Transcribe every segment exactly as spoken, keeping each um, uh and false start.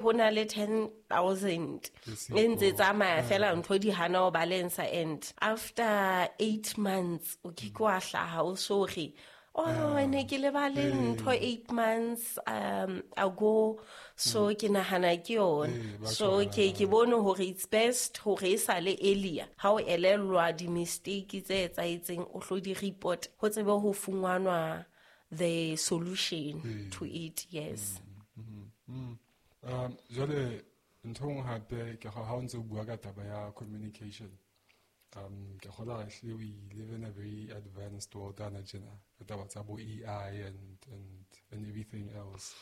Ho na le ten thousand e ntse tsamaya fela ntho di hana ho balance, and after eight months o ke ke wa hlaha o so re, oh, ne ke lebale ntho eight months um ago. So ke nahana ke yona. So ke ke bone hore it's best hore e sale earlier ha o elellwa di-mistake tse etsahetseng, o hlo di report ho tsebe ho fumanwa the solution Mm. to it. Yes. Mm, mm, mm. Um, jwale ntho e nngwe hape ke ha o ntse o bua ka taba ya communication, um ke kgolwa hle we live in a very advanced world ana tjena, ka taba tsa bo A I and, and, and everything else.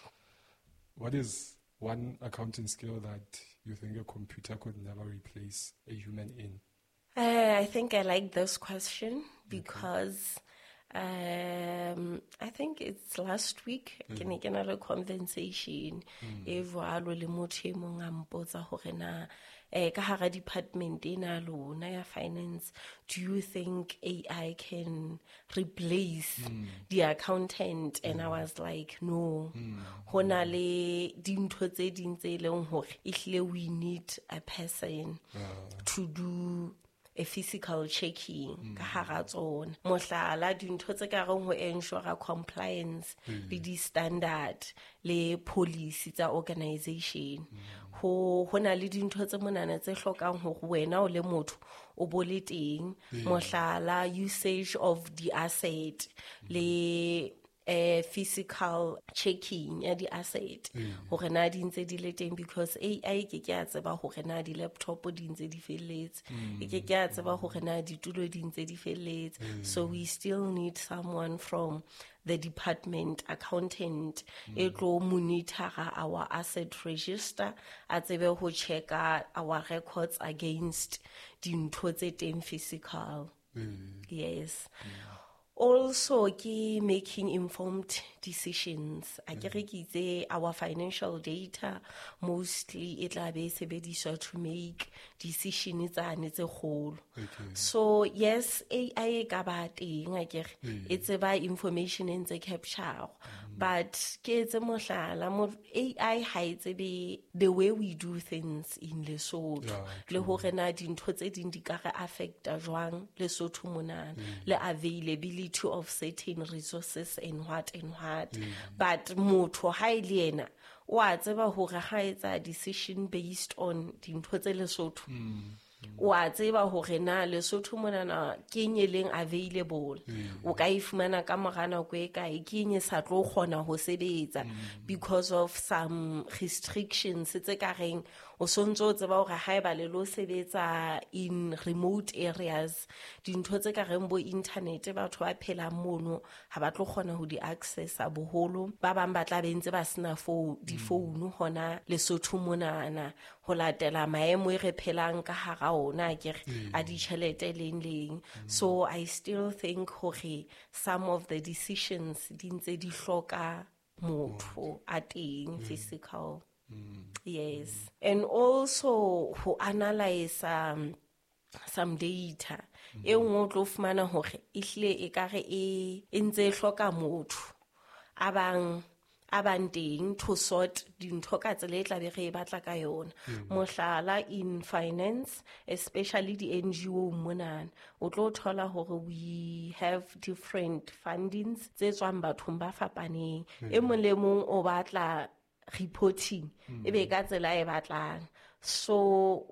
What is one accounting skill that you think a computer could never replace a human in? Uh, I think I like this question because um, I think it's last week ke ne ke na le conversation e jwalo le motho e mong a mpotsa hore na, eh, ka hara department ena lona ya finance, do you think A I can replace Mm. the accountant? And I was like, no. Mm. Ho na le dintho tse ding tse leng hore ehlile we need a person Yeah. to do a physical checking Mm. ka hara tsona. Mohlala, dintho tse ka reng ho ensure compliance Mm. le di-standard le policy tsa organization. Mm. Ho, ho na le dintho tse monana tse hlokang hore wena o le motho o bo le teng. Mm. Mohlala, usage of the asset Mm. le, eh, physical checking ya di-asset. Mm. Hore na di ntse di le teng, because A I ke ke a tseba hore na di-laptop di ntse di felletse. Mm. E ke ke a tseba hore na ditulo di ntse di felletse. Mm. So we still need someone from the department, accountant, e Mm. tlo monitor our asset register, a tsebe ho checka our records against dintho tse teng physical. Mm. Yes. Mm. Also, ke making informed decisions. A ke re Mm. ke itse our financial data mostly e tla be e sebediswa to make decision tsane tse kgolo. Okay. So yes, A I e ka ba teng, a ke re, Mm. e tseba information e ntse capture. Mm. But ke etse mohlala, mo A I ha e tsebe the way we do things in Lesotho. Yeah, Le true. hore na dintho tse ding di ka re affecta jwang Lesotho monana. Mm. Le availability of certain resources and what and what. Mm. But motho ha e le yena, o a tseba hore ha etsa decision based on dintho tse Lesotho. Mm. O a tseba hore na Lesotho monana ke eng e leng available. Mm. O ka e fumana ka mora nako e kae, ke eng e sa tlo kgona ho sebetsa Mm. because of some restrictions tse ka reng o sontso o tseba hore haeba le lo sebetsa in remote areas, dintho tse ka reng bo internet batho ba phelang mono ha ba tlo kgona ho di accessa boholo. Ba bang ba tla be ntse ba sena fo-, difounu hona Lesotho monana ho latela maemo e re phelang ka hara ona, ke re, Mm. a ditjhelete leng leng. Mm. So I still think hore some of the decisions di ntse di hloka motho a teng Mm. physical. Mm. Yes. And also ho analyze, um, some data. Mm. E nngwe o tlo fumana hore ehlile ekare e, e ntse e hloka motho a bang, a bang teng to sort dintho ka tsela e tla be re e batla ka yona. Mm. Mohlala, in finance, especially di N G O monana, o tlo thola hore we have different fundings tse tswang bathong ba fapaneng. Mm. E mong le mong o batla reporting, Mm. e be ka tsela e batlang. So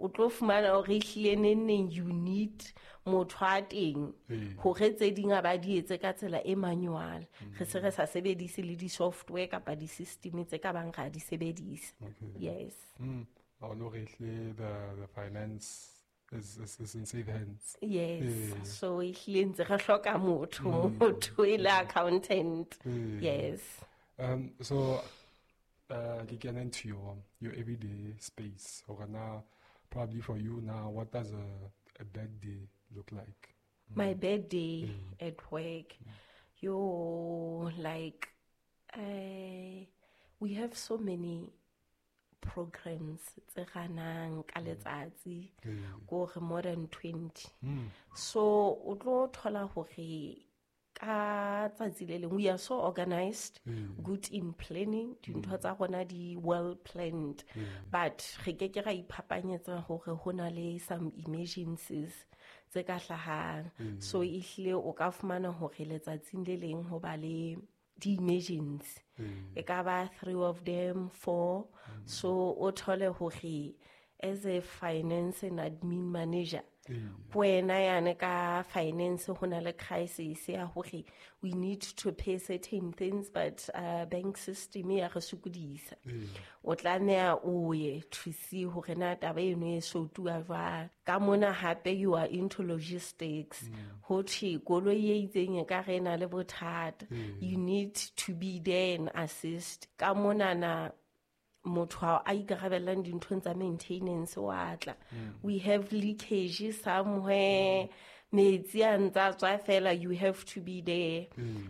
o tlo fumana hore ehlile neng neng you need motho a teng Mm. hore tse ding a ba di etse ka tsela e manual. Mm. Re se re sa sebedise le di-software kapa di-system tse ka bang ra di sebedisa. Okay. Yes. Mm. Ha o no re ehlile the, the finance is, is, is in safe hands. Yes. Yeah. So ehlile ntse re hloka motho, Mm. motho e le accountant. Yeah. Yes. Um, so, uh, ke kena into your, your everyday space. Hore na, probably for you now, what does a, a bad day look like? My Mm. bad day Mm. at work, Mm. yo, like, uh, we have so many programs tse ranang ka Mm. letsatsi, Mm. ko re more than twenty. Mm. So o tlo thola hore ka tsatsi le leng we are so organized, Mm. good in planning, dintho tsa rona di well planned, but re ke ke ra iphapanyetsa hore ho na le some emergencies tse ka hlahang. So ehlile o ka fumana hore letsatsing le leng ho ba le di-emergency, e ka ba three of them, four. So o thole hore as a finance and admin manager, ke wena yane ka finance ho na le crisis ya hore we need to pay certain things, but uh, bank system ya re sokodisa. O tlameha o ye to see hore na taba eno e sotuwa jwang. Ka mona hape you are into logistics, ho thwe koloi e itseng e ka re e na le bothata, you need to be there and assist. Ka monana motho a ikarabellang dinthong tsa maintenance wa tla, we have leakage somewhere, metsi a ntsa tswa fela, you have to be there.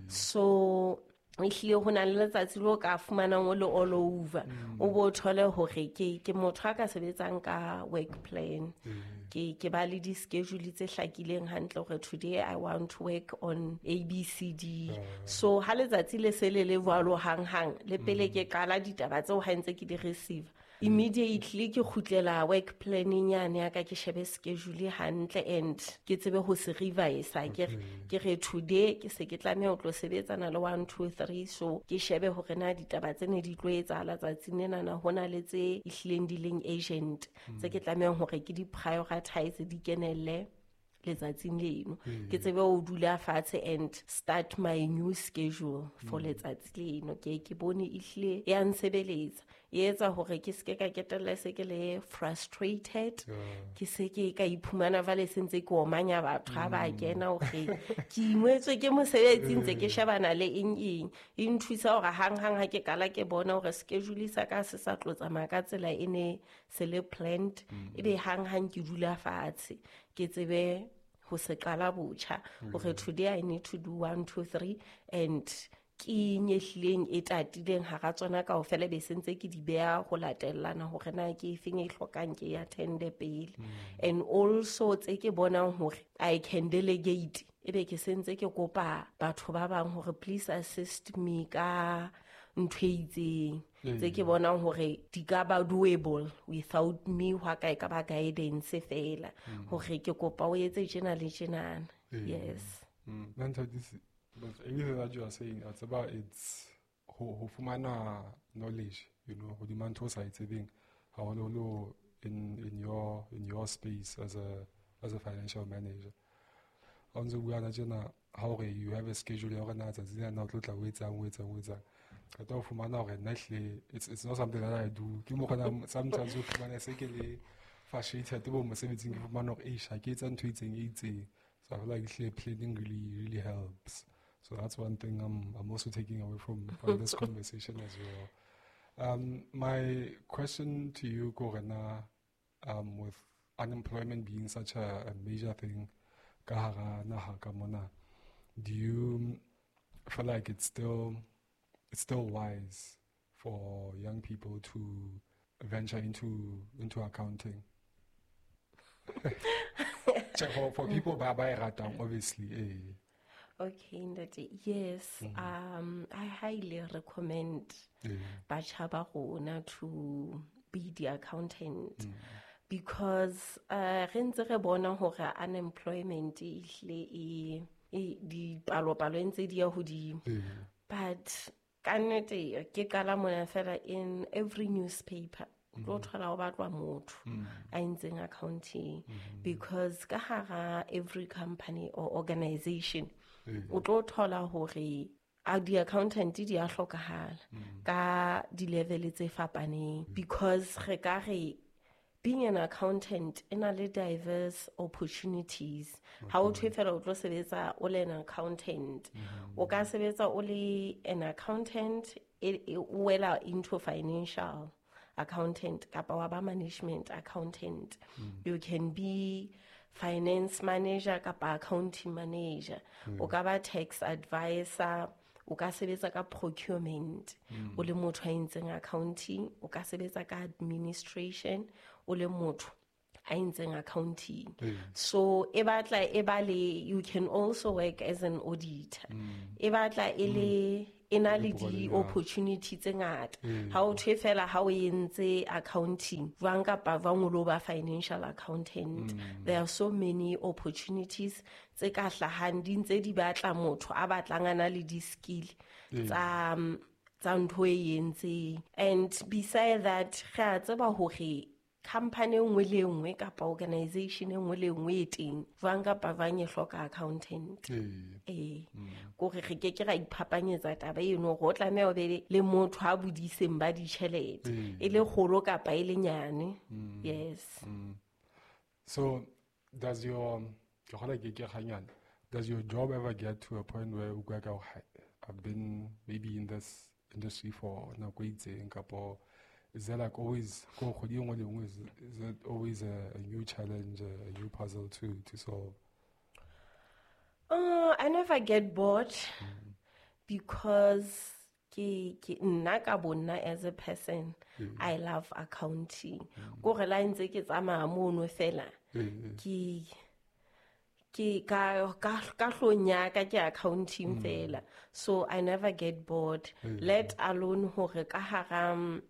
So ehlile ho na le letsatsi leo ka fumanang o le all over, o bo thole hore ke ke motho a ka sebetsang ka work plan. Ke ke ba le di-schedule tse hlakileng hantle hore today I want to work on A B C D. So ha letsatsi le se le le jwalo hang-hang, le pele ke qala ditaba tseo ha ntse ke di receive, immediately ke kgutlela work planning yane ya ka, ke shebe schedule hantle and ke tsebe ho se revise. Ke re, ke re today ke se ke tlameha ho tlo sebetsana le one, two, three. So ke shebe hore na ditaba tsene di tlo etsahala tsatsing lena na ho na le tse ehlileng di leng urgent, tse ke tlamehang hore ke di prioritize, di kenelle letsatsing leno. Ke tsebe ho dula fatshe and start my new schedule for letsatsi leno. Ke ke bone ehlile ya nsebeletsa, e etsa hore ke seke ka ketella se ke le frustrated, ke se ke ka iphumana vale se ntse ke omanya batho ha ba kena hore ke ingwetswe ke mosebetsi ntse ke shebana le eng eng. E nthusa hore hang-hang ha ke qala ke bona hore schedule sa ka se sa tlo tsamaya ka tsela e ne se le planned, ebe hang-hang ke dula fatshe ke tsebe ho se qala botjha hore today I need to do one, two, three, and ke eng e hlileng e tatileng hara tsona kaofela, be se ntse ke di beha ho latellana hore na ke efeng e hlokang ke ya attend-e pele. And also tse ke bonang hore I can delegate, ebe ke se ntse ke kopa batho ba bang hore please assist me ka ntho e itseng, tse ke bonang hore di ka ba doable without me, hwa ka e ka ba guidance fela hore ke kopa o etse tjena le tjenana. Yes. Mm. But everything that you are saying, it's about it's ho ho fumana knowledge, you know, hodima ntho o sa e tsebeng, haholoholo in in your in your space as a as a financial manager. Ha o ntso bua na tjena, ha hore you have a schedule ya hore na tsatsi lena o tlo tla o etsang, o etsang, o etsang. Qeta ho fumana hore nna ehlile it's, it's not something that I do. Ke mo kgona sometimes o fumana se ke le frustrated bo mosebetsing, ke fumana hore eish, ha ke etsa ntho e itseng, e itseng. So I feel like ehlile planning really, really helps. So that's one thing I'm, I'm also taking away from, from this conversation as well. Um, my question to you, Korena, um, with unemployment being such a, a major thing, ka hara naha ka mona, do you feel like it's still, it's still wise for young people to venture into, into accounting? For, for people ba ba e ratang, obviously. Eh. Okay, Ntate. Yes, Mm. um, I highly recommend Yeah. batjha ba rona to be the accountant. Mm. Because, uh, re ntse re bona hore unemployment e hlile e, e dipalopalo ntse di ya hodimo. Yeah. But ka nnete ke qala mona fela in every newspaper, o tlo thola ho batlwa motho a entseng accounting, because ka hara every company or organization o tlo thola hore a di-accountant di a hlokahala ka di-level tse fapaneng, because re ka re being an accountant e na le diverse opportunities. Ha o thwe fela o tlo sebetsa o le an accountant, o ka sebetsa o le an accountant e, e o wela into financial accountant kapa wa ba management accountant. You can be finance manager kapa accounting manager. O ka ba tax advisor, o ka sebetsa ka procurement, o le motho a entseng accounting, o ka sebetsa ka administration, o le motho a entseng accounting. Ee. So e batla e ba le, you can also work as an auditor. E batla e le e na le di-opportunity tse ngata. Ha o thwe fela ha o entse accounting jwang kapa jwang o lo ba financial accountant. There are so many opportunities tse ka hlahang, di ntse di batla motho a batlang a na le di-skill tsa tsa ntho e entseng. And beside that, re a tseba hore company e nngwe le e nngwe kapa organization e nngwe le e nngwe e teng jwang kapa jwang e hloka accountant. Ee. Ee, kore re ke ke ra iphapanyetsa taba eno hore o tlameha o be le motho a bodiseng ba ditjhelete, e le kgolo kapa e le nyane. Yes. So does your, ke kgolwa ke ke kganyane, does your job ever get to a point where o utlwa ka hore, hai, I've been maybe in this industry for nako e itseng, kapo is there like always, ko kgwedi e nngwe le nngwe, is, is it always a, a new challenge, a, a new puzzle to, to solve? Uh, I never get bored because ke, ke nna ka bonna as a person, I love accounting. Kore la ntse ke tsamaya mono fela, ke, ke ka, ka, ka hlong ya ka ke accounting fela. So I never get bored, let alone hore ka hara, um,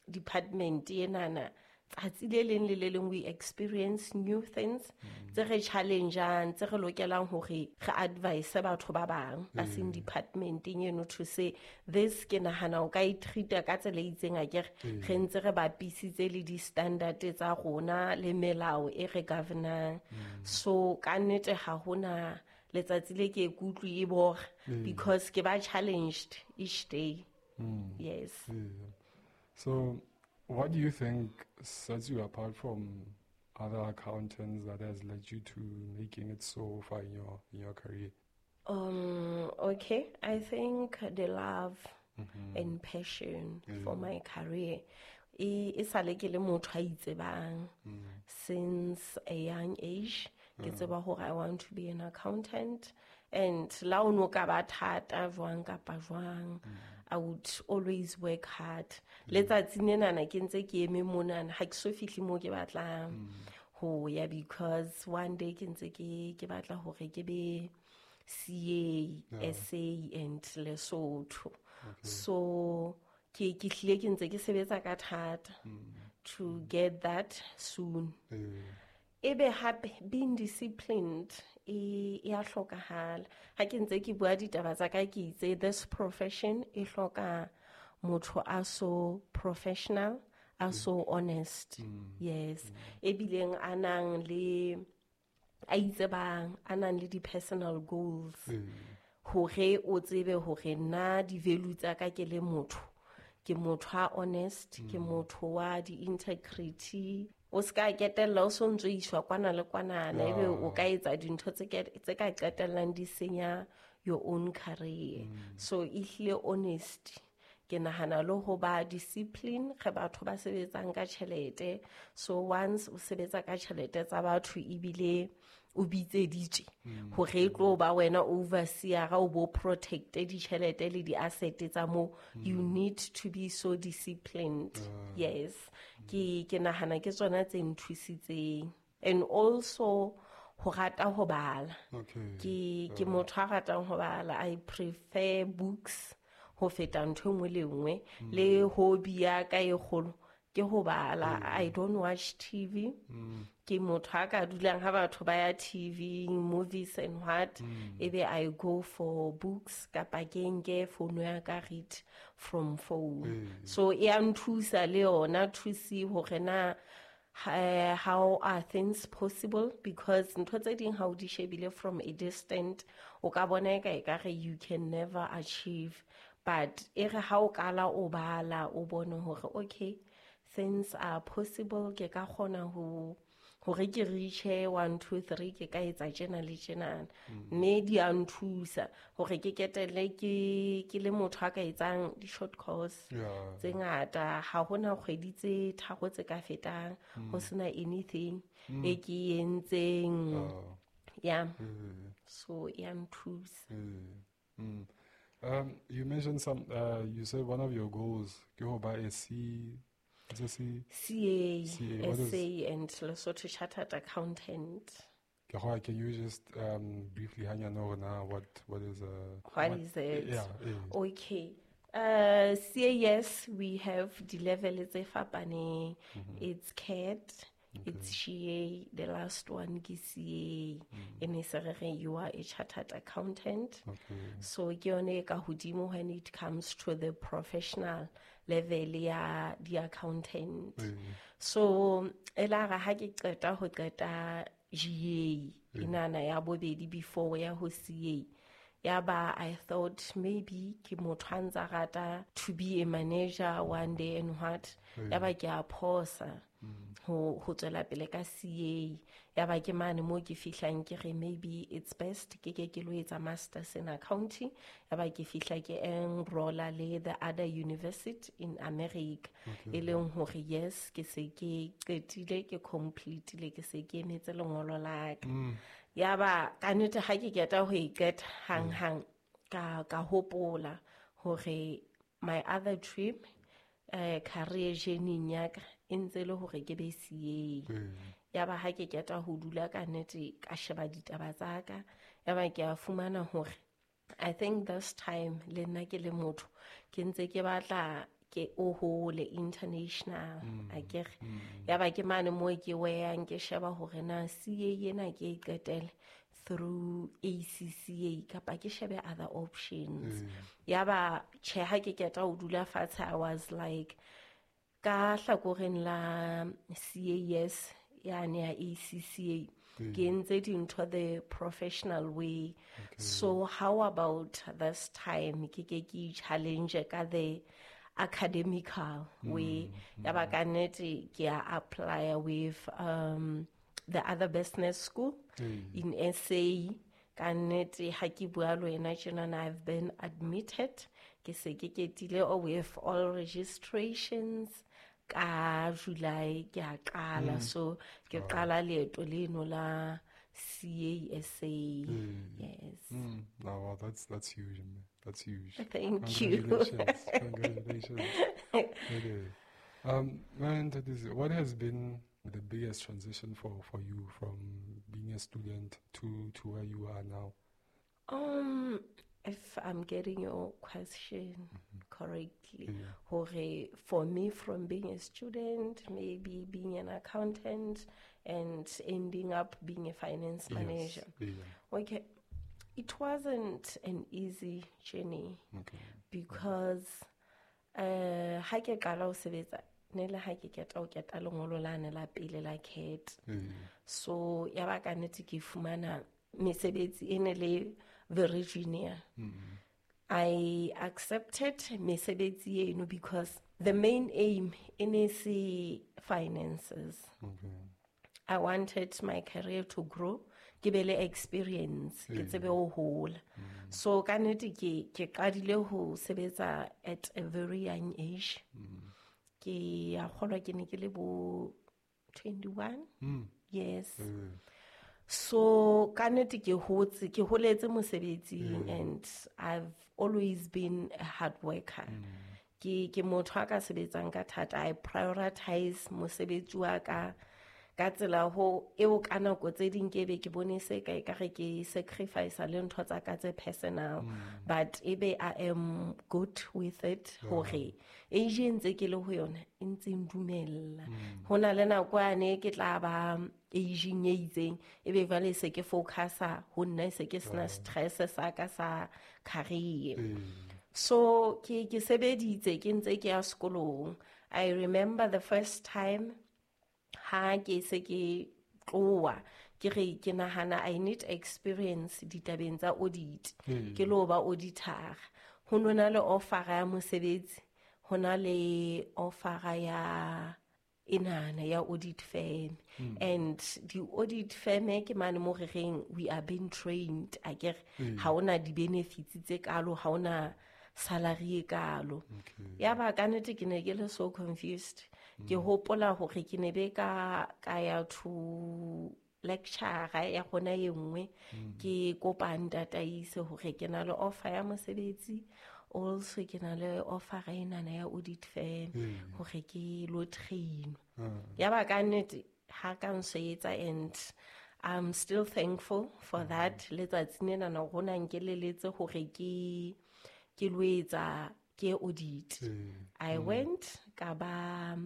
department enana, tsatsi le leng le le leng we experience new things tse re challengeang, tse re lokelang hore re advise batho ba bang ba seng departmenteng eno to say this ke nahana o ka e treat-a ka tsela e itseng, akere re ntse re bapisitse le di-standard tsa rona le melao e re governang. So ka nnete ha hona letsatsi le ke ikutlwe e bora because ke ba challenged each day. Yes. Yeah. So what do you think sets you apart from other accountants that has led you to making it so far in your, in your career? Um, okay, I think the love and passion for my career. E, e sale ke le motho a itsebang since a young age. Ke tseba hore I want to be an accountant, and la o no ka ba thata jwang kapa jwang, I would always work hard. Letsatsi lenana ke ntse ke eme monana, ha ke so fihle moo ke batlang ho ya, because one day ke ntse ke, ke batla hore ke be C A, S A and Lesotho. So ke, ke hlile ke ntse ke sebetsa ka thata to get that soon. Ebe hape being disciplined e, e a hlokahala. Ha ke ntse ke bua ditaba tsa ka, ke itse this profession e hloka motho a so professional, a so honest. Yes. Ebileng a nang le, a itsebang, a nang le di-personal goals. Hore o tsebe hore nna di-value tsa ka ke le motho, ke motho a honest, ke motho wa di-integrity. O ska ketella o so ntso iswa kwana le kwana, ebe o ka etsa dintho tse ke, tse ka qetellang di senya your own career. So ehlile honest, ke nahana le ho ba discipline ge batho ba sebetsang ka tjhelete. So once o sebetsa ka tjhelete tsa batho ebile o bitseditswe hore e tlo ba wena overseer, o bo protect ditjhelete le di-asset tsa moo, you need to be so disciplined. Yes. Ke, ke nahana ke tsona tse nthusitseng. And also ho rata ho bala. Okay. Ke, ke motho a ratang ho bala. I prefer books ho feta ntho e nngwe le nngwe. Le hobby ya ka e kgolo ke ho bala. I don't watch T V. Ke motho a ka dulang ha batho ba ya T V, movies and what, ebe I go for books kapa ke nke phone ya ka read from phone. So e a nthusa le yona to see hore na, eh, how are things possible, because ntho tse ding ha o di shebile from a distant, o ka bona eka ekare you can never achieve, but e re ha o kala o bala o bone hore okay, things are possible, ke ka kgona ho hore ke reach one two three, ke ka etsa tjena le tjenana. Mme di a nthusa hore ke ketelle ke, ke le motho a ka etsang di-short course Yeah. tse ngata. Ha hona kgwedi tse tharo tse ka fetang ho sena anything e ke e entseng. Oh. Yeah. Mm. So e a nthusa. Mm. Mm. Um, you mentioned some, uh, you said one of your goals, ke ho ba a C It's a C C A, C A, what S is A and Lesotho Chartered Accountant. Can you just um, briefly hang on now what what is a What what, is it? Yeah, yeah. Okay. Uh, C A S, we have the level tse fapaneng. Mm-hmm. It's C A T, Okay. it's G A, the last one ke C A. Mm. E ne se re re you are a chartered accountant. Okay. So ke yone e ka hodimo when it comes to the professional level ya the accountant. Mm. So e la re ha ke qeta ho qeta G A, Mm. inana ya bobedi before ya ho C A. Ya ba, I thought maybe ke motho a ntsa rata to be a manager one day and what. Mm. Ya ba ke a phosa Mm. ho, ho tswela pele ka C A. Ya ba ke mane mo ke fihlang ke re maybe it's best ke ke ke lo etsa masters in accounting. Ya ba ke fihla ke enrolla le the other university in America. Okay. E leng hore yes, ke se ke qetile, ke completile, ke se ke emetse lengolo la ka. Mm. Ya ba ka nnete ha ke qeta ho e qeta hang hang ka, ka hopola hore my other dream, eh, career journey ya ka e ntse le hore ke be C A. Mm. Ya ba ha ke qeta ho dula ka nnete ka sheba ditaba tsa ka, ya ba ke a fumana hore I think this time le nna ke le motho ke ntse ke batla ke o hole international, Mm. akere. Mm. Ya ba ke mane moo ke weyang ke sheba hore na C A ena ke e qetele through A C C A kapa ke shebe other options. Mm. Ya ba tjhe ha ke qeta ho dula fatshe, I was like ka hlakoreng la C A S yane ya A C C A, Mm. ke entse dintho the professional way. Okay. So how about this time ke ke ke challenge ka the academical way. Mm, Ya ba mm. ka nnete ke a apply with, um, the other business school Mm. in S A. Ka nnete ha ke bua le wena tjenana, I've been admitted. Ke se ke ketile with all registrations ka July ke a qala. Mm. So ke Wow. qala leeto leno la C A S A. Mm. Yes. Mm. No, well, that's, that's huge, man. That's huge. Thank you. Congratulations. Congratulations. Okay. Um, man, that is, what has been the biggest transition for, for you from being a student to, to where you are now? Um, if I'm getting your question Mm-hmm. correctly, Yeah. hore for me, from being a student, maybe being an accountant, and ending up being a finance Yes. manager. Yeah. Okay. It wasn't an easy journey. Okay. Because, uh, ha ke qala ho sebetsa, ne le ha ke qeta ho keta lengolo lane la pele la C A T. Yeah. So ya ba ka nnete ke fumana mesebetsi e ne le very junior. Mm-hmm. I accepted mesebetsi eno because the main aim e ne se finances. Okay. I wanted my career to grow, ke be le experience, ke Mm. tsebe ho hola. Mm. So ka nnete ke, ke qadile ho sebetsa at a very young age. Mm. Ke a kgolwa ke ne ke le bo twenty-one. Mm. Yes. Mm. So ka nnete ke hotse, ke holetse mosebetsing Mm. and I've always been a hard worker. Mm. Ke, ke motho a ka sebetsang ka thata. I prioritize mosebetsi wa ka ka tsela ho eo ka nako tse ding ke be ke bone se ka ekare ke sacrifice le ntho tsa ka tse personal. Mm. But ebe I am good with it Yeah. hore age e ntse ke le ho yona e ntse e ndumella. Mm. Ho na le nako yane ke tla ba aging e itseng ebe jwale se ke focusa ho nna, se ke sena Yeah. stress sa ka sa career. Mm. So ke, ke sebeditse ke ntse ke ya sekolong. I remember the first time ha ke se ke tloha ke re ke nahana I need experience ditabeng tsa audit. Mm. Ke lo ba auditor. Ho no na le offer ya mosebetsi, ho na le offer ya enana ya audit firm. Mm. And the audit firm e ke mane mo re reng we are being trained akere. Mm. Ha hona di benefits tse kalo, ha hona salary e kalo. Okay. Ya ba ka nnete ke ne ke le so confused. Ke Mm. hopola hore ke ne be ka, ka ya to lecture ya rona e nngwe, Mm. ke kopa ntataise hore ke na le offer ya mosebetsi Also ke na le offer enana ya audit firm Mm. hore ke lo train. Ah. Ya ba ka nnete ha ka nsetsa, and I'm still thankful for that. Letsatsi lena rona nkeleletse hore ke ke lo etsa ke audit. Mm. I went ka ba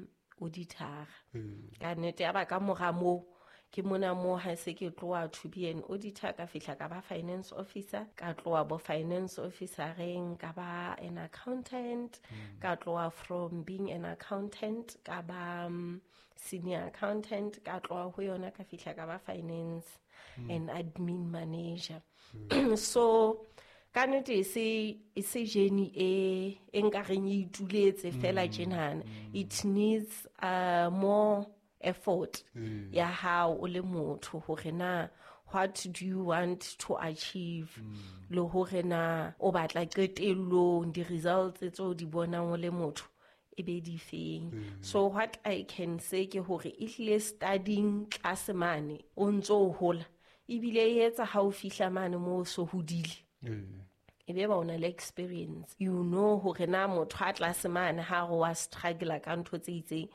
auditor. Mm. Ka nnete ya ba ka mora moo ke mona mo ha se ke tloha to be an auditor, ka fihla ka ba finance officer, ka tloha bo finance officer-eng ka ba an accountant, ka tloha from being an accountant ka ba, um, senior accountant, ka tloha ho yona ka fihla ka ba finance and admin manager. So ka nnete e se, e se journey e, e nkareng e ituletse fela tjenana. It needs, uh, more effort Mm. ya hao o le motho hore na what do you want to achieve, le hore na o batla qetellong di-results tseo di bonang o le motho e be di feng. So what I can say ke hore ehlile studying tlase mane o ntso o hola, ebile e etsa ha o fihla mane moo o so hodile, Mm. e be ba o na le experience, you know hore na motho a tlase mane ha re wa struggle ka ntho tse itseng,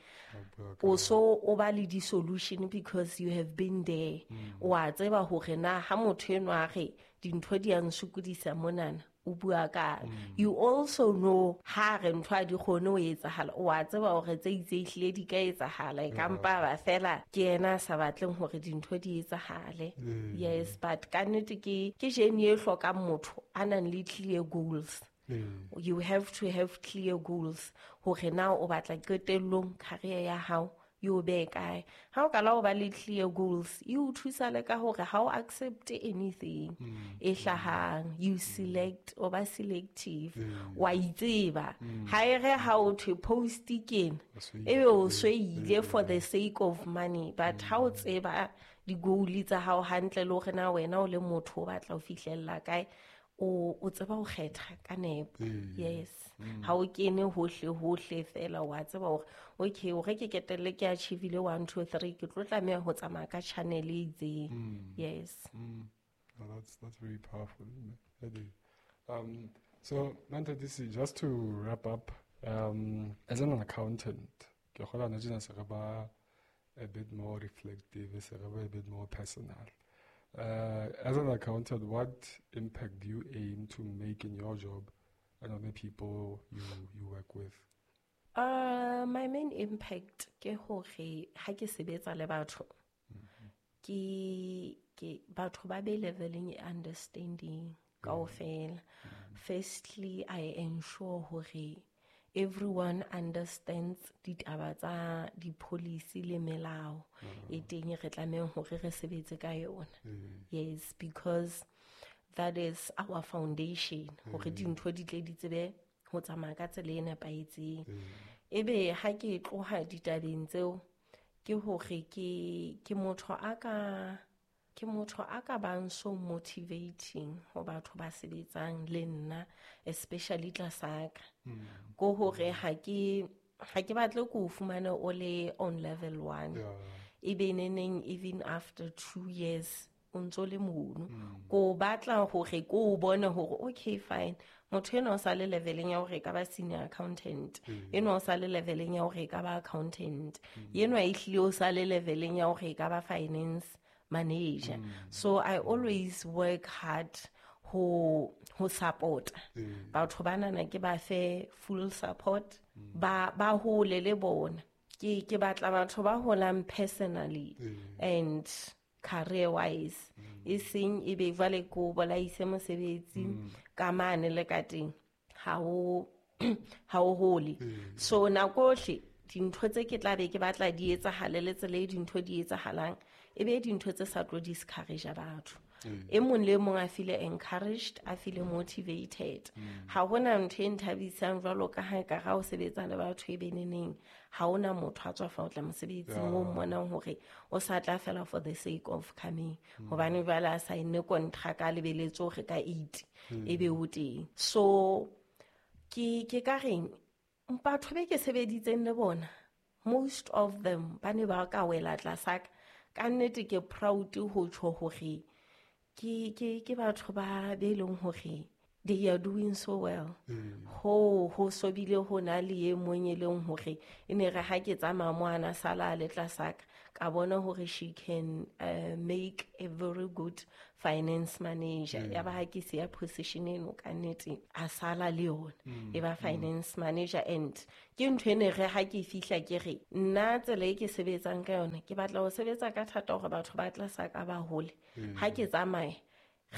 o so o ba le di-solution because you have been there. O a tseba hore na ha motho enwa a re dintho di a nsokodisa monana, o bua kang. You also know ha re ntho ha di kgone ho etsahala, o a tseba hore tse itseng ehlile di ka etsahala, e ka mpa ba fela ke yena a sa batleng hore dintho di etsahale. Mm. Yes, but ka nnete ke, ke journey e hlokang motho a nang le clear goals. Mm. You have to have clear goals hore na o batla qetellong career ya hao e o behe kae. Ha o qala ho ba le clear goals, e o thusa le ka hore ha o accept anything e hlahang, you select, o ba selective, wa itseba. Ha e re ha o thwe post ke ena, ebe o so ile for the sake of money, but ha o tseba di-goal tsa hao hantle le hore na wena o le motho o batla ho fihlella kae, o, o tseba ho kgetha ka nepo. Mm. Yes. Ha o kene hohle hohle fela, wa tseba hore okay, hore ke ketelle ke achieve-ile one, two, three, ke tlo tlameha ho tsamaya ka channel e itseng. Mm. Yes. Mm. No, that's, that's very powerful, isn't it? Um, so, Manthatisi, just to wrap up, um, as an accountant, ke kgolwa hona tjena se re ba a bit more reflective, se re ba a bit more personal. Uh, as an accountant, what impact do you aim to make in your job and on the people you, you work with? Uh, my main impact ke hore ha ke sebetsa le batho, ke, ke batho ba be leveleng e understanding kaofela. Firstly, I ensure hore everyone understands ditaba tsa di-policy le melao e teng re tlamehang hore re sebetse ka yona. Yes, because that is our foundation, hore dintho di tle di tsebe ho tsamaya ka tsela e nepahetseng. Ebe ha ke tloha ditabeng tseo, ke hore ke, ke motho a ka, ke motho a ka bang so motivating ho batho ba sebetsang le nna, especially tlasa ka. Ko hore ha ke, ha ke batle ko fumane o le on level one. Yeah. Ebe neneng even after two years o ntso le mono. Ko batla hore ko o bone hore okay fine, motho enwa o sa le leveleng ya hore e ka ba senior accountant, enwa o sa le leveleng ya hore e ka ba accountant, enwa ehlile o sa le leveleng ya hore e ka ba finance manager. So I always work hard ho, ho support. Batho banana ke ba fe full support, ba, ba hole le bona. Ke, ke batla batho ba holang personally and career wise. E seng e be jwale ko bolaise mosebetsi ka mane le ka teng, ha o, ha o hole. So nako yohle dintho tse ke tla be ke batla di etsahale le tsela e dintho di etsahalang, e be dintho tse sa tlo discourage batho. E mong le mong a feel encouraged, a feel motivated. Ha hona ntho e nthabisang jwalo ka ha e ka ra o sebetsa le batho e beneneng, ha hona motho a tswa fa o tla mosebetsing o mmonang hore o sa tla fela for the sake of coming. Hobane jwale a sign-ne contract a lebeletse hore ka eight e be o teng. So ke, ke ka reng, batho be ke sebeditseng le bona, most of them ba ne ba ka wela tlasa ka. Ka nnete ke proud ho tjho hore ke, ke, ke batho ba be leng hore They are doing so well. Ho ho so bile ho na le e mong e leng hore e ne re ha ke tsamaya mo ana sala le tlasaka ka bona hore she can uh, make a very good finance manager. Ya ba ha ke siya position eno ka nnete a sala le yona e ba finance manager. And ke ntho e ne re ha ke fihla ke re nna tsela e ke sebetsang ka yona ke batla ho sebetsa ka thata hore batho ba tlasaka ba hole. Ha ke tsamaya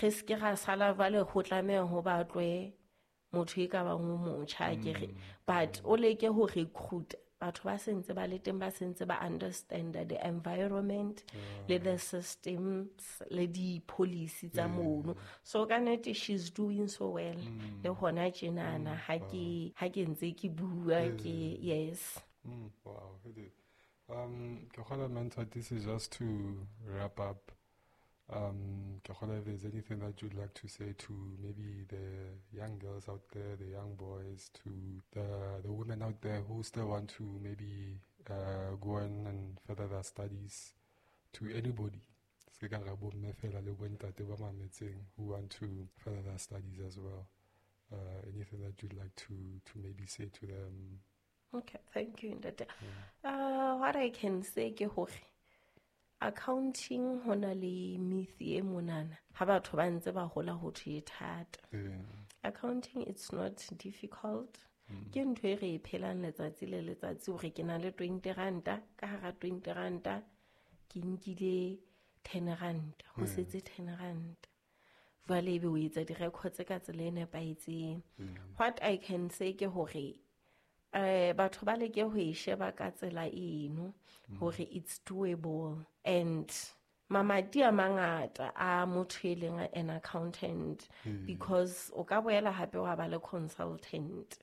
re se ke ra sala vale ho tlameha ho batlwe motho e ka bang o motjha ke re, but o leke ho recruit batho ba sentse ba le teng, ba sentse ba understand the environment le the systems le di policy tsa mono. So ka nnete she's doing so well le hona tjenana ha ke ha ke ntse ke bua ke yes. Mm, wow. Um ke kgona mentor, this is just to wrap up. Um, if there's anything that you'd like to say to maybe the young girls out there, the young boys, to the the women out there who still want to maybe uh, go on and further their studies, to anybody who want to further their studies as well, uh, anything that you'd like to, to maybe say to them? Okay, thank you, Ntate. Yeah. Uh, what I can say ke hore accounting hona le myth e monana ha batho ba ntse ba hola ho thwe e thata. Accounting, it's not difficult. Ke ntho e re e phelang letsatsi le letsatsi hore ke na le twenty ranta, ka hara twenty ranta ke nkile ten ranta, ho setse ten ranta. Jwale ebe o etsa di-records ka tsela e nepahetseng. What I can say ke hore eh batho ba leke ho e sheba ka tsela eno hore it's doable. And mamati a mangata a motho e leng an accountant, because o ka boela hape wa ba le consultant,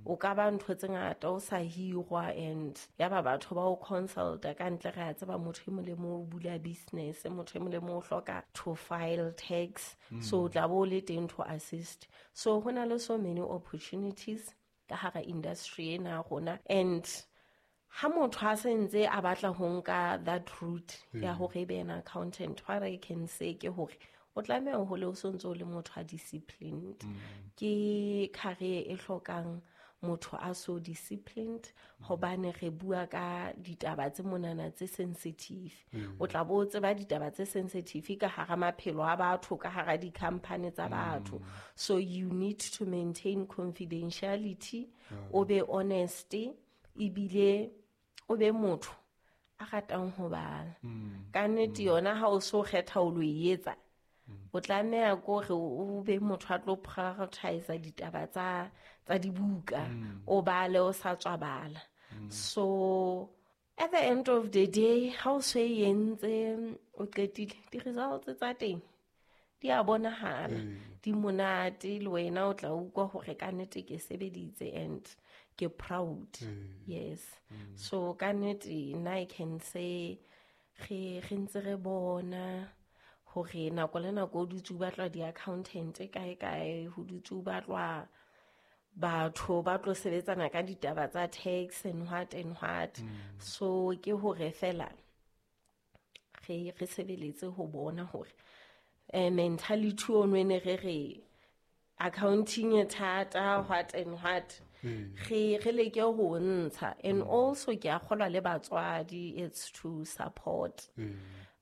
o ka ba ntho tse ngata o sa hirwa, and ya ba batho ba o consulta ka ntle. Re a tseba motho e mong le mong o bula business, motho e mong le mong o hloka to file tax, so o tla bo le teng to assist. So ho na le so many opportunities ka hara industry ena rona. And ha motho a sentse a batla ho nka that route ya hore e be an accountant, what I can say ke hore o tlameha ho le o sontse o le motho a disciplined. Ke career e hlokang motho a so disciplined, hobane re bua ka ditaba tse monana tse sensitive. O tla bo tseba ditaba tse sensitive ka hara maphelo a batho, ka hara di-company tsa batho. So you need to maintain confidentiality, o be honest, ebile o be motho a ratang ho bala. Ka nnete yona ha o so kgetha o lo e etsa, o tlameha ko re o be motho a tlo prioritize ditaba tsa tsa dibuka, o bale o sa tswa bala. So at the end of the day, ha o se entse o qetile, di-results tsa teng di a bonahala, di monate, le wena o tla utlwa hore ka nnete ke sebeditse and ke proud. Yes. So ka nnete nna I can say re re ntse re bona hore nako le nako o dutse o batlwa di-accountant kae kae, ho dutse o batlwa batho ba tlo sebetsana ka ditaba tsa tax and what and what. So ke hore fela re re sebeletse ho bona hore eh mentality ono e ne re re accounting e thata, what and what, re re leke ho ntsha. And also ke a kgolwa le batswadi, it's to support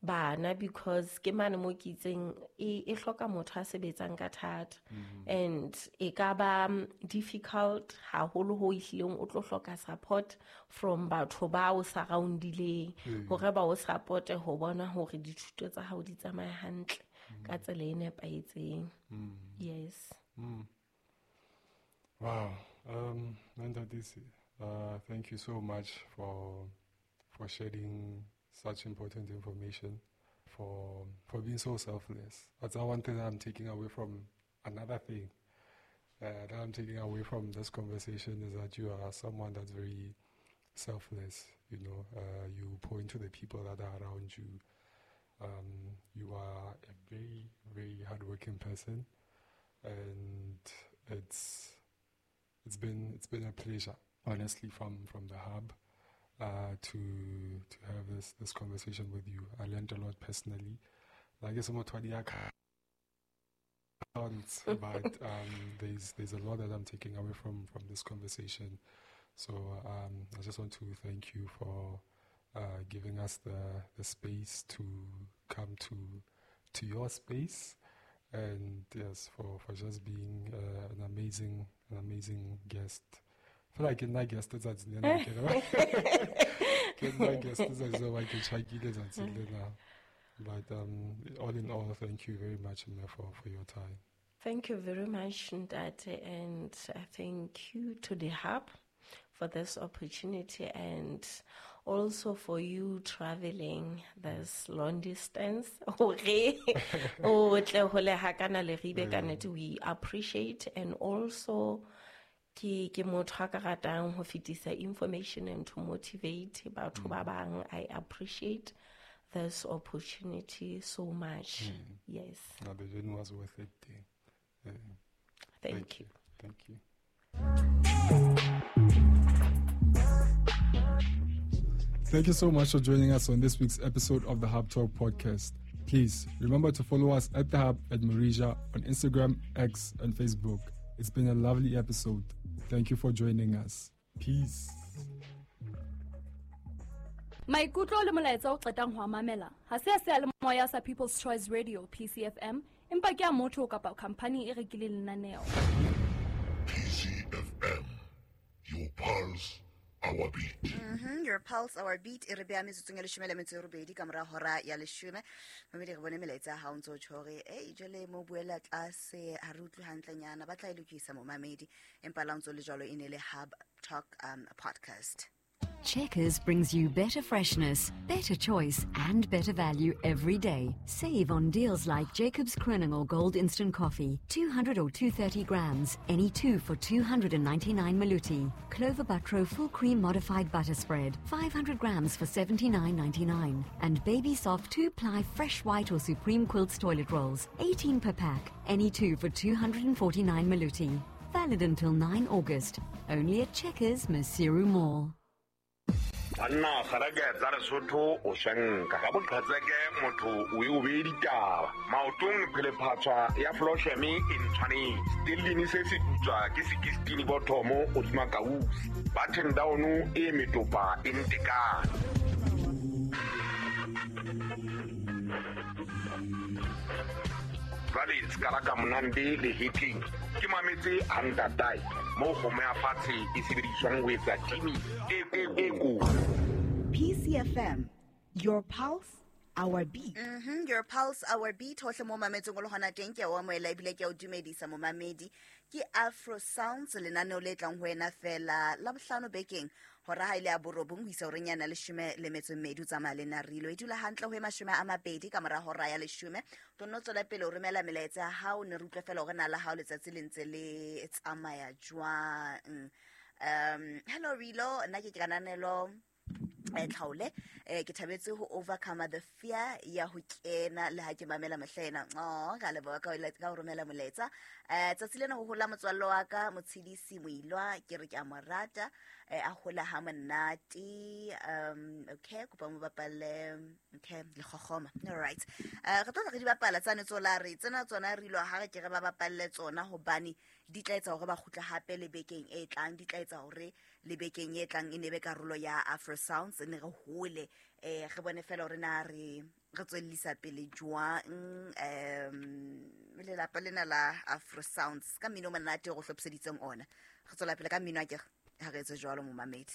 bana, because ke mane mo ke itseng e e hloka motho a sebetsang ka thata, and e ka ba difficult haholo ho ehlileng o tlo hloka support from batho ba o surroundileng hore ba o supporte ho bona hore dithuto tsa hao di tsamaya hantle ka tsela e nepahetseng. Yes. Mm. Wow. Um, Nthatisi, uh, thank you so much for for sharing such important information, for for being so selfless. That's one thing that I'm taking away from another thing uh, that I'm taking away from this conversation is that you are someone that's very selfless. You know, uh, you point to the people that are around you. Um, you are a very, very hardworking person, and it's it's been it's been a pleasure, honestly, from, from the hub, uh, to to have this, this conversation with you. I learned a lot personally. Like can't, but um, there's there's a lot that I'm taking away from, from this conversation. So um, I just want to thank you for uh, giving us the, the space to come to to your space, and yes, for, for just being uh, an amazing an amazing guest. I feel like in my guest that's But um, all in all, thank you very much, Mme, for, for your time. Thank you very much, Ntate, and thank you to the Hub for this opportunity, and also for you traveling this long distance. We appreciate, and also ke ke motho a ka ratang ho fetisa information and to motivate batho ba bang. I appreciate this opportunity so much. Mm. Yes. No, the journey was worth it. Yeah. Thank, Thank you. you. Thank you. Thank you so much for joining us on this week's episode of the Hub Talk podcast. Please remember to follow us at the Hub at Morija on Instagram, X, and Facebook. It's been a lovely episode. Thank you for joining us. Peace. Maikutlo le molaetsa o qetang ho mamela ha se a seyalemoya sa People's Choice Radio P C F M, empa ke a motho kapa company e rekileng lenaneo. P C F M, your pulse, our beat. Mm-hmm, your pulse, our beat. E re beha metsotsong ya leshome le metso e robedi ka mora hora ya leshome. Mamedi re bone melaetsa ya hao ntse o tjho hore, ei, jwale mo buela tlase, ha re utlwe hantlenyana, ba tla e lokisa momamedi. Empa la ntse o le jwalo e ne le Hub Talk um, podcast. Checkers brings you better freshness, better choice, and better value every day. Save on deals like Jacobs Kronenor Gold Instant Coffee, two hundred or two hundred thirty grams, any two for two hundred ninety-nine Maluti. Clover Butro Full Cream Modified Butter Spread, five hundred grams for seventy-nine ninety-nine. And Baby Soft two-ply Fresh White or Supreme Quilts Toilet Rolls, eighteen per pack, any two for two hundred forty-nine Maluti. Valid until nine August. Only at Checkers, Maseru Mall. Banna garake tsa Lesotho o shanka ka boqhetseke motho o e o be ditaba maotong phelephatswa ya Flosheme e ntshwanetse stellini se se putswa ke sixteen bothomo o dima kausi button down e metopa e ntekane jwale skala ka monande le hitting ke mametse hantatai mo kgomo ya fatshe e sebediswang ho etsa timi e e e ko. P C F M, your pulse, our beat. Mm-hmm, your pulse, our beat. Hohle mo mametseng o le hona teng ke a o amohela ebile ke a o dumedisa momamedi. Ke Afro Sounds lenaneo le tlang ho wena fela la bohlano bekeng hora ha ile ya borobong ho isa horeng yana leshome le metso e mmedi o tsamaya le nna Rilo. E dula hantle ho e mashome a mabedi ka mora hora ya leshome. Tlo tswela pele o romela melaetsa ya hao, ne re utlwe fela hore na la hao letsatsi le ntse le tsamaya jwang. Um, hello Rilo, nna ke Kananelo eh tlhaole, eh ke thabetse ho overcome the fear ya ho kena le ha ke mamela mehlena. Oh, ka leboha ka ka ho romela molaetsa. Eh tsatsi lena ho hola motswallo wa ka Motshidisi Moilwa, ke re ke a mo rata, eh a hola ha monate. Um okay, kopa mo bapalle okay le kgokgoma. All right. Eh re tlo re di bapala tsane tsola re tsena tsona re ilo ha re ke re ba bapalle tsona hobane di tla etsa hore ba kgutla hape le bekeng e tlang, di tla etsa hore le bekeng e tlang e ne be karolo ya Afro Sounds, ne re hole eh re bone fela hore na re re tswellisa pele jwang um lelapa lena la Afro Sounds ka mmino monate o go hlophiseditseng ona. Re tswela pele ka mmino a ke ha re etse jwalo momamedi.